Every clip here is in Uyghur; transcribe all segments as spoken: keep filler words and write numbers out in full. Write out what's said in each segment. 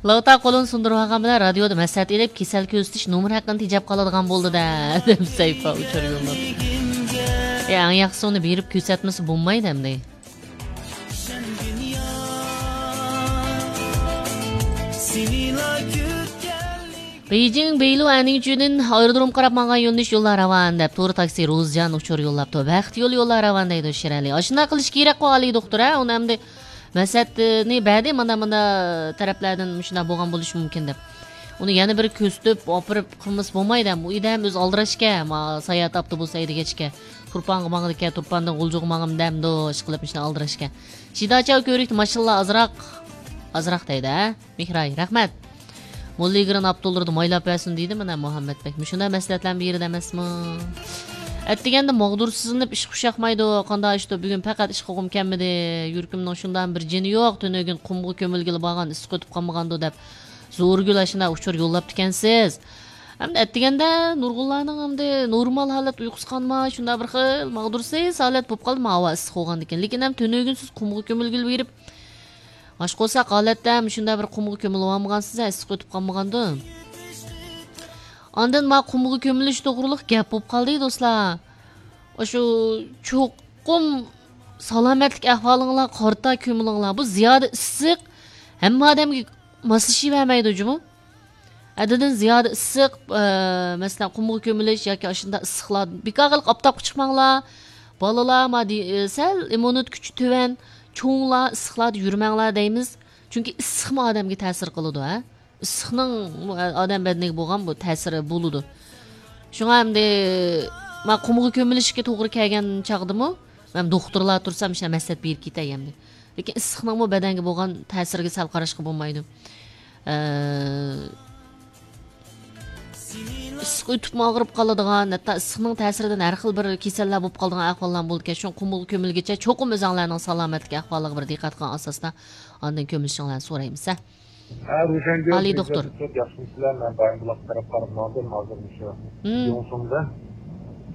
لاۋتا قولىنى سۇندۇرۇۋالغان بىلەن رادىيودا مەسلىھەت ئېلىپ، كېسەل كۆزىتىش نومۇر ھەققىنى تېجەپ قالىدىغان بولدى-دە، دەپ سەھىپە ئۇچۇر يوللاپتۇ. ئە، ئەڭ ياخشىسى ئۇنى بېرىپ كۆرسەتمىسە بولمايدۇ ئەمدى. بېيجىڭ بېيلۇ ئەنىڭچۈدىن ئايرودروم قاراپ ماڭغان يۆنىلىش يوللار راۋان دەپ، تور تاكسى روزجان ئۇچۇر يوللاپتۇ. بەخت يولى يوللار راۋان دەيدۇ شىرئەلى. ئاشۇنداق قىلىش كېرەك قو ئالىي دوختۇر، ھە؟ ئۇنى ئەمدى مەسلىھەتنى بەردى، مانا، مانا تەرەپلەردىن مۇشۇنداق بولغان بولۇشى مۇمكىن دەپ. ئۇنى يەنە بىر كۆرسىتىپ، ئاپىرىپ قىلمىسا بولمايدۇ. ئۇ ئىدەم ئۆزى ئالدىراشكەن، ما، ساياھەت ئاپتوبۇسى ھەيدىگەچكە، تۇرپانغا ماڭىدىكەن، تۇرپاندىن غۇلجىغا ماڭىمەن دەمدۇ، ئىشقىلىپ مۇشۇنداق ئالدىراشكەن. شىداچاۋ كۆۋرۈكتە ماشىنىلار ئازراق، ئازراق دەيدۇ، ھە؟ مېھراي، رەھمەت. موللا ئىگرىن ئاپتوللىرىدا مايلاپ بەرسۇن دېدى، مانا مۇھەممەت بەك. مۇشۇنداق مەسلىھەتلەرنى بېرىدۇ ئەمەسمۇ؟ ئەتىگەندە ماغدۇرسىزلىنىپ ئىشقا ئۇششاقمايدۇ. قانداق ئىشتۇ، بۈگۈن پەقەت ئىش قىلغۇم كەلمىدى. يۈرىكىمنىڭ شۇنداق بىر جېنى يوق. تۈنۈگۈن قۇمغا كۆمۈلگىلى بارغان، ئىسسىق ئۆتۈپ قالمىغاندۇ دەپ زورىگۈل ئاشۇنداق ئۇچۇر يوللاپتىكەنسىز. ئەمدى ئەتىگەندە نۇرغۇنلارنىڭ ئەمدى نورمال ھالەت ئۇيقۇسى قانماي، شۇنداق بىر خىل ماغدۇرسىز ھالەت بولۇپ قالدى، ماۋۇ ئىسسىق بولغاندىكىن. لېكىن ھەم تۈنۈگۈن سىز قۇمغا كۆمۈلگىلى بېرىپ، ئاشقا بولسا ھالەتتە مۇشۇنداق بىر قۇمغا كۆمۈلۈۋالمىغانسىز، ئىسسىق ئۆتۈپ قالمىغاندۇ؟ ئاندىن ما قۇمغا كۆمۈلۈش توغرۇلۇق گەپ بولۇپ قالدى، دوستلار. ئاشۇ چوقۇم سالامەتلىك ئەھۋالىڭلار قارىتا كۆمۈلۈڭلار. بۇ زىيادە ئىسسىق ھەممە ئادەمگە ماسلىشىۋەرمەيدۇ جۇمۇ. ھەددىدىن زىيادە ئىسسىق، ئە، مەسىلەن، قۇمغا كۆمۈلۈش ياكى ئاشۇنداق ئىسسىقلار، بىكار قىلىپ ئاپتاپقا چىقماڭلار. بالىلار، ما دې-، ئە، سەل ئىممۇنىتېت كۈچى تۆۋەن، چوڭلار ئىسسىقلاردا يۈرمەڭلار دەيمىز. چۈنكى ئىسسىقمۇ ئادەمگە تەسىر قىلىدۇ، ھە. ئىسسىقنىڭ ئادەم بەدىنىگە بولغان بۇ تەسىرى بولىدۇ. شۇڭا ئەمدى ما قۇمغا كۆمۈلۈشكە توغرا كەلگەن چاغدىمۇ مەن دوختۇرلار تۇرسا مۇشۇنداق مەسلىھەت بېرىپ كېتەي ئەمدى. لېكىن ئىسسىقنىڭمۇ بەدەنگە بولغان تەسىرىگە سەل قاراشقا بولمايدۇ. ئە، ئىسسىق ئۆتۈپمۇ ئاغرىپ قالىدىغان، ھەتتا ئىسسىقنىڭ تەسىرىدىن ھەر خىل بىر كېسەللەر بولۇپ قالىدىغان ئەھۋاللار بولىدىكەن. شۇڭا قۇمغا كۆمۈلگىچە چوقۇم ئۆزۈڭلارنىڭ سالامەتلىك ئەھۋالىغا بىر دىققەت قىلغان ئاساستا ئاندىن كۆمۈلۈشۈڭلارنى سورايمىز، ھە. ھە، روشەنگۈل، ئالىي دوختۇر. ياخشىمۇسىلەر؟ مەن بايىنبۇلاق تەرەپ قاراپ ماڭدىم، ھازىر مۇشۇ مم. يۇڭسۇڭدىن،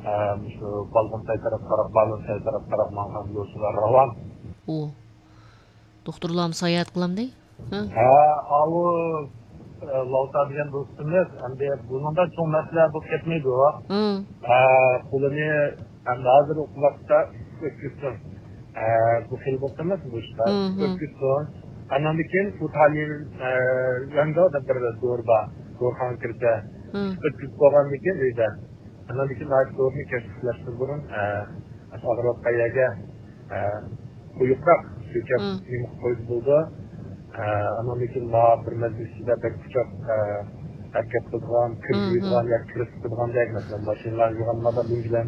ھە، مۇشۇ بالغۇنساي تەرەپ قاراپ، بالغۇنساي تەرەپ قاراپ ماڭغان يولچىلار راۋان. ئۇ، دوختۇرلارمۇ ساياھەت قىلامدى؟ ھە. ھە، ئاۋۇ، ئە، لاۋتا دېگەن دوستىمىز، ئەمدى بۇنىڭدا چوڭ مەسىلە بولۇپ كەتمەيدۇ. مم. ھە، قولىنى ئەمدى ھازىر ئوقۇۋاتقۇچە ئۆتكۈزسۇن. ئە، بۇ خىل بولسىمىز بۇ ئىشتا مم. ئۆتكۈزسۇن. ئاندىن كېيىن ئۇتالىن، ئە، ياندا بىر دورا بار. دورىخانىغا كىرسە، مم. ئۆتكۈزۈپ بولغاندىن كېيىن ئۆيدە. ئاندىن كېيىن ئاشۇ دورىنى كەچلىك ئۇخلاشتىن بۇرۇن، ئە، ئاشۇ ئاغرىۋاتقان يەرگە، ئە، قويۇقراق سۆكەپ مم. نېمە قىلىپ قويسا بولىدۇ. ئە، ئاندىن كېيىن ما بىر مەزگىل ئىچىدە بەك ئۇششاق، ئە، ھەرىكەت قىلىدىغان، كىر مم. يۇيىدىغان ياكى كىر سىقىدىغاندەك، مەسىلەن، ماشىنىلارنى يۇغانلاردا لۈڭگىلەرنى